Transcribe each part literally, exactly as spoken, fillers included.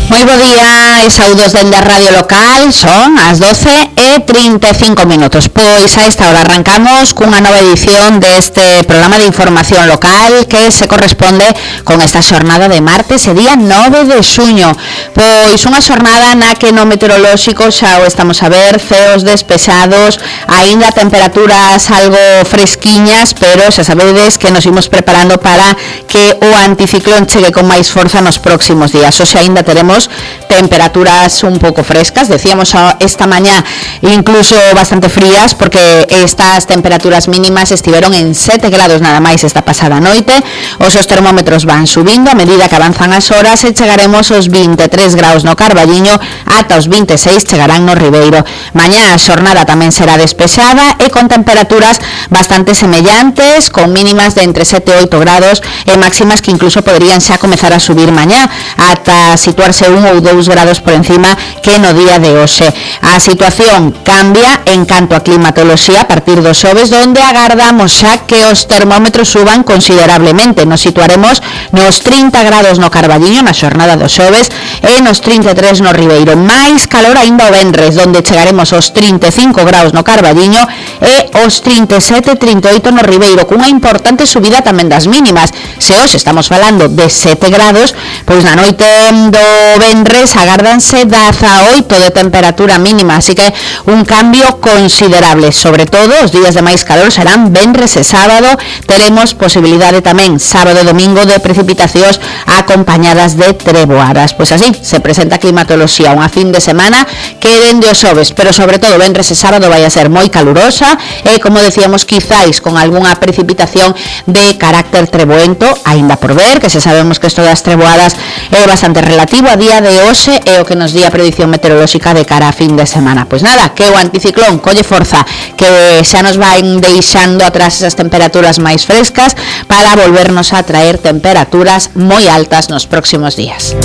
Moi bo día e saúdos dende a Radio Local. Son as doce e trinta e cinco minutos. Pois a esta hora arrancamos cunha nova edición deste programa de información local que se corresponde con esta xornada de martes e día nove de xuño. Pois unha xornada na que no meteorolóxico xa o estamos a ver, ceos despexados, aínda temperaturas algo fresquiñas, pero xa sabedes que nos imos preparando para que o anticiclón chegue con máis forza nos próximos días. Hoxe aínda teremos temperaturas un pouco frescas, decíamos esta mañá incluso bastante frías, porque estas temperaturas mínimas estiveron en sete grados nada máis esta pasada noite. Os os termómetros van subindo a medida que avanzan as horas e chegaremos aos vinte e tres graus no Carballiño, ata os vinte e seis chegarán no Ribeiro. Mañá a xornada tamén será despexada e con temperaturas bastante semellantes, con mínimas de entre sete e oito grados e máximas que incluso poderían xa comezar a subir mañá ata situarse un ou dous grados por encima que no día de hoxe. A situación cambia en canto a climatoloxía a partir dos xoves, donde agardamos xa que os termómetros suban considerablemente. Nos situaremos nos trinta grados no Carballiño na xornada dos xoves e nos trinta e tres no Ribeiro. Máis calor aínda o venres, donde chegaremos aos trinta e cinco graus no Carballiño e aos trinta e sete e trinta e oito no Ribeiro, cunha importante subida tamén das mínimas. Se hoxe estamos falando de sete grados, pois na noite do venres agárdanse dezaoito de temperatura mínima, así que un cambio considerable. Sobre todo os días de máis calor serán venres e sábado. Teremos posibilidade tamén sábado e domingo de precipitacións acompañadas de treboadas. Pois así se presenta a climatoloxía, unha fin de semana que dende os xoves, pero sobre todo venres e sábado vai a ser moi calurosa e, como decíamos, quizáis con algunha precipitación de carácter treboento, aínda por ver, que se sabemos que isto das treboadas é bastante relativo a día de hoxe e o que nos di a predicción meteorolóxica de cara a fin de semana. Pois nada, que o anticiclón colle forza, que xa nos van deixando atrás esas temperaturas máis frescas para volvernos a traer temperaturas moi altas nos próximos días.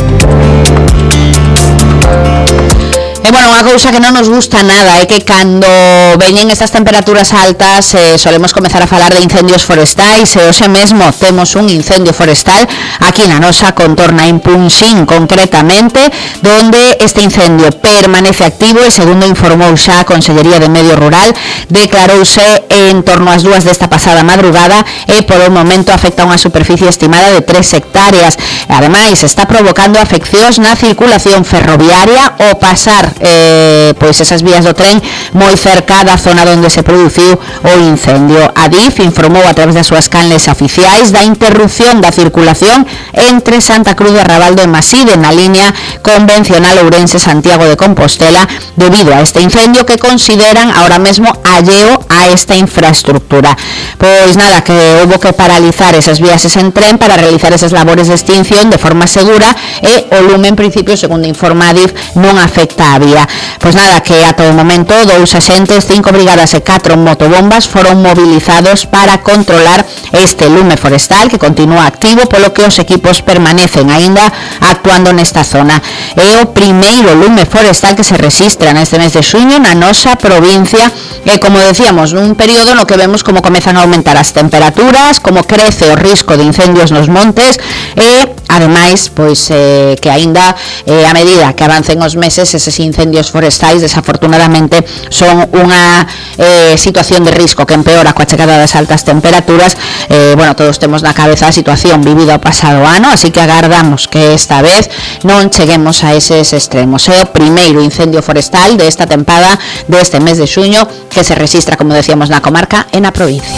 E, bueno, unha cousa que non nos gusta nada é que cando veñen estas temperaturas altas eh, solemos comezar a falar de incendios forestais e hoxe mesmo temos un incendio forestal aquí na nosa contorna en Punxín, concretamente, donde este incendio permanece activo e, segundo informou xa a Consellería de Medio Rural, declarouse en torno ás dúas desta pasada madrugada e por o momento afecta unha superficie estimada de tres hectáreas. Ademais, está provocando afeccións na circulación ferroviaria ao pasar Eh, pois esas vías do tren moi cerca da zona onde se produciu o incendio. A D I F informou a través das súas canles oficiais da interrupción da circulación entre Santa Cruz de Rabaldo e Maside na línea convencional Ourense-Santiago de Compostela debido a este incendio que consideran ahora mesmo alleo a esta infraestructura. Pois nada, que houbo que paralizar esas vías en tren para realizar esas labores de extinción de forma segura e o lume en principio, segundo informa a D I F, non afecta a vía. Pois nada, que ata o momento dous axentes, cinco brigadas e catro motobombas foron movilizados para controlar este lume forestal que continúa activo, polo que os equipos permanecen aínda actuando nesta zona. É o primeiro lume forestal que se rexistra neste mes de xuño na nosa provincia e, como decíamos, nun período no que vemos como comezan a aumentar as temperaturas, como crece o risco de incendios nos montes e, ademais, pois eh, que aínda eh, a medida que avancen os meses eses incendios forestais desafortunadamente son unha eh, situación de risco que empeora coa chegada das altas temperaturas. Eh, bueno, todos temos na cabeza a situación vivida o pasado ano, así que agardamos que esta vez non cheguemos a eses extremos. É o primeiro incendio forestal desta tempada deste mes de xuño que se rexistra, como decíamos, na comarca e na provincia.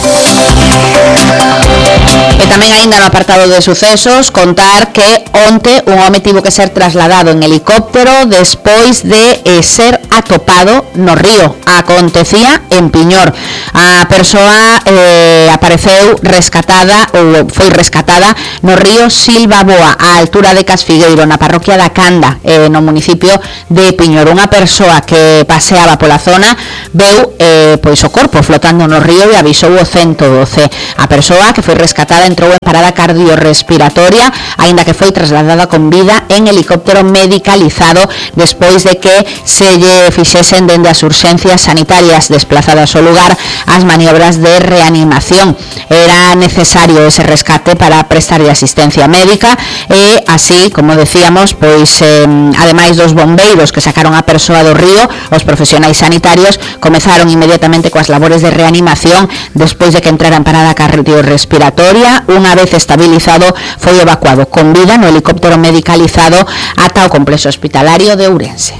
E tamén aínda no apartado de sucesos contar que onte un home tivo que ser trasladado en helicóptero despois de eh, ser atopado no río. Acontecía en Piñor. A persoa eh, apareceu rescatada ou foi rescatada no río Silvaboa, á altura de Casfigueiro, na parroquia da Canda, eh, no municipio de Piñor. Unha persoa que paseaba pola zona veu eh, pois o corpo flotando no río e avisou o ciento doce. A persoa que foi rescatada xugadora entrou en parada cardiorrespiratoria, aínda que foi trasladada con vida en helicóptero medicalizado despois de que se lle fixesen dende as urxencias sanitarias desplazadas ao lugar as maniobras de reanimación. Era necesario ese rescate para prestarlle asistencia médica e así, como decíamos, pois eh, ademais dos bombeiros que sacaron a persoa do río, os profesionais sanitarios comezaron inmediatamente coas labores de reanimación despois de que entrara en parada cardiorrespiratoria. Unha vez estabilizado, foi evacuado con vida no helicóptero medicalizado ata o complexo hospitalario de Ourense.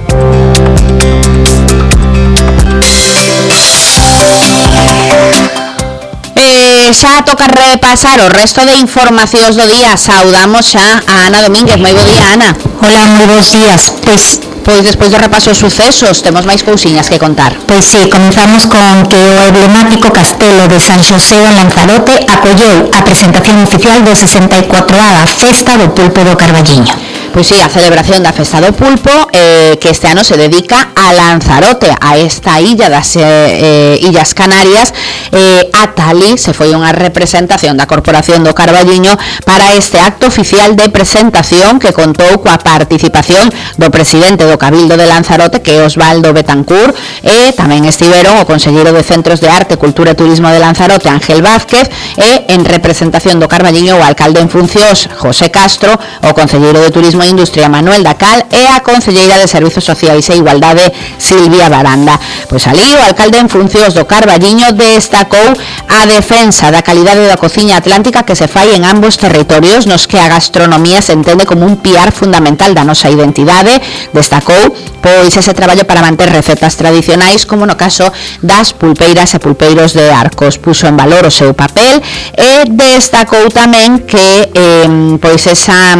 Eh, xa toca repasar o resto de informacións do día. Saudamos xa a Ana Domínguez. Moi bo día, Ana. Hola, moi bons días. Pois Pois despois do repaso dos sucesos temos máis cousiñas que contar. Pois sí, comenzamos con que o emblemático castelo de San Xosé en Lanzarote acolleu a presentación oficial do sesenta e cuatroava Festa do Pulpo do Carballiño. Pois sí, a celebración da Festa do Pulpo eh, que este ano se dedica a Lanzarote, a esta illa das eh, Illas Canarias. eh, ata ali se foi unha representación da Corporación do Carballiño para este acto oficial de presentación que contou coa participación do presidente do Cabildo de Lanzarote, que é Osvaldo Betancourt, e tamén estiveron o conselleiro de Centros de Arte, Cultura e Turismo de Lanzarote, Ángel Vázquez, e en representación do Carballiño o alcalde en funcións, José Castro, o conselleiro de Turismo e Industria, Manuel Dacal, e a conselleira de Servizos Sociais e Igualdade, Silvia Baranda. Pois ali o alcalde en funcións do Carballiño destacou a defensa da calidade da cociña atlántica que se fai en ambos territorios, nos que a gastronomía se entende como un piar fundamental da nosa identidade. Destacou pois ese traballo para manter recetas tradicionais, como no caso das pulpeiras e pulpeiros de Arcos. Puxo en valor o seu papel e destacou tamén que eh, pois esa,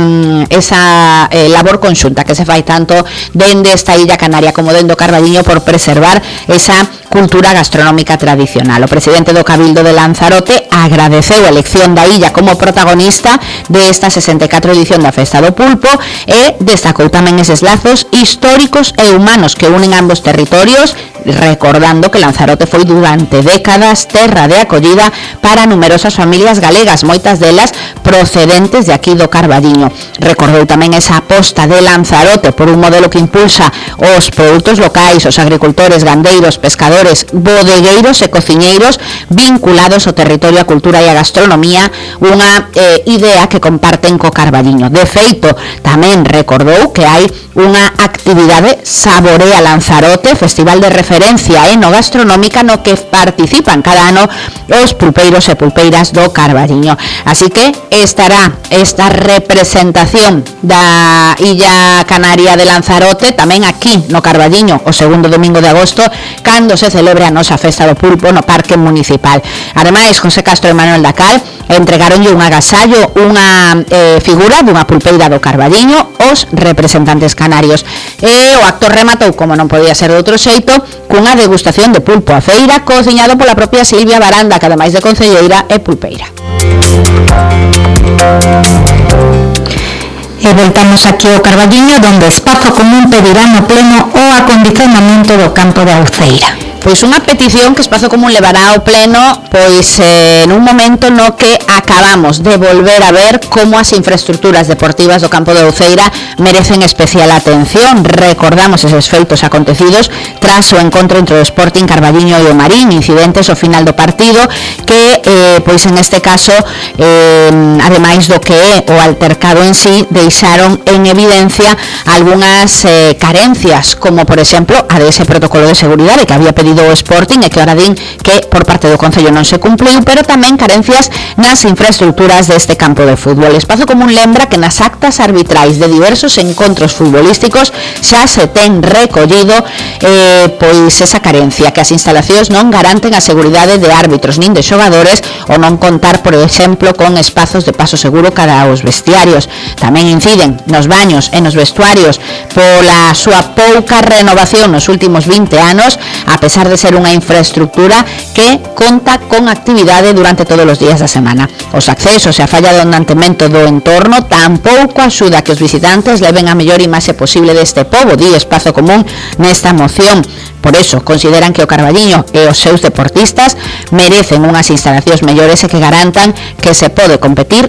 esa eh, labor conxunta que se fai tanto dende esta illa canaria como dende o Carballiño por preservar esa cultura gastronómica tradicional. O presidente do Cabildo de Lanzarote agradeceu a elección da illa como protagonista desta sesenta e catro edición da Festa do Pulpo e destacou tamén eses lazos históricos e humanos que unen ambos territorios, recordando que Lanzarote foi durante décadas terra de acollida para numerosas familias galegas, moitas delas procedentes de aquí do Carballiño. Recordou tamén esa aposta de Lanzarote por un modelo que impulsa os produtos locais, os agricultores, gandeiros, pescadores, bodegueiros e cociñeiros vinculados ao territorio, a cultura e a gastronomía, unha eh, idea que comparten co Carballiño. De feito, tamén recordou que hai unha actividade Saborea Lanzarote, festival de referencia enogastronómica no que participan cada ano os pulpeiros e pulpeiras do Carballiño. Así que estará esta representación da Illa Canaria de Lanzarote tamén aquí no Carballiño o segundo domingo de agosto, cando se celebre a nosa Festa do Pulpo no Parque Municipal. Ademais, José Castro e Manuel Dacal entregaronlle un agasallo, unha eh, figura dunha pulpeira do Carballiño os representantes canarios. E o acto rematou, como non podía ser de outro xeito, cunha degustación de pulpo a feira cociñado pola propia Silvia Baranda, que ademais de concelleira é pulpeira. E voltamos aquí ao Carballiño, donde Espazo Común pedirá no pleno o acondicionamento do campo de Auceira. Pois unha petición que Espazo Común levará ao pleno pois eh, nun momento no que acabamos de volver a ver como as infraestructuras deportivas do campo de Auceira merecen especial atención. Recordamos eses feitos acontecidos tras o encontro entre o Sporting Carballiño e o Marín, incidentes ao final do partido que, eh, pois en este caso, eh, ademais do que é o altercado en sí, deixaron en evidencia algunhas eh, carencias, como por exemplo a dese protocolo de seguridade que había pedido o Sporting e que ahora din que por parte do Concello non se cumpliu, pero tamén carencias nas infraestructuras deste campo de fútbol. Espazo Común lembra que nas actas arbitrais de diversos encontros futbolísticos xa se ten recollido eh, pois esa carencia, que as instalacións non garanten a seguridade de árbitros nin de xogadores, ou non contar, por exemplo, con espazos de paso seguro cara aos vestiarios. Tamén inciden nos baños e nos vestuarios pola súa pouca renovación nos últimos vinte anos, a pesar de ser unha infraestructura que conta con actividade durante todos os días da semana. Os accesos e a falla do mantemento do entorno tampouco axuda a que os visitantes leven a mellor imaxe posible deste pobo, di Espazo Común nesta moción. Por eso, consideran que o Carballiño e os seus deportistas merecen unhas instalacións mellores e que garantan que se pode competir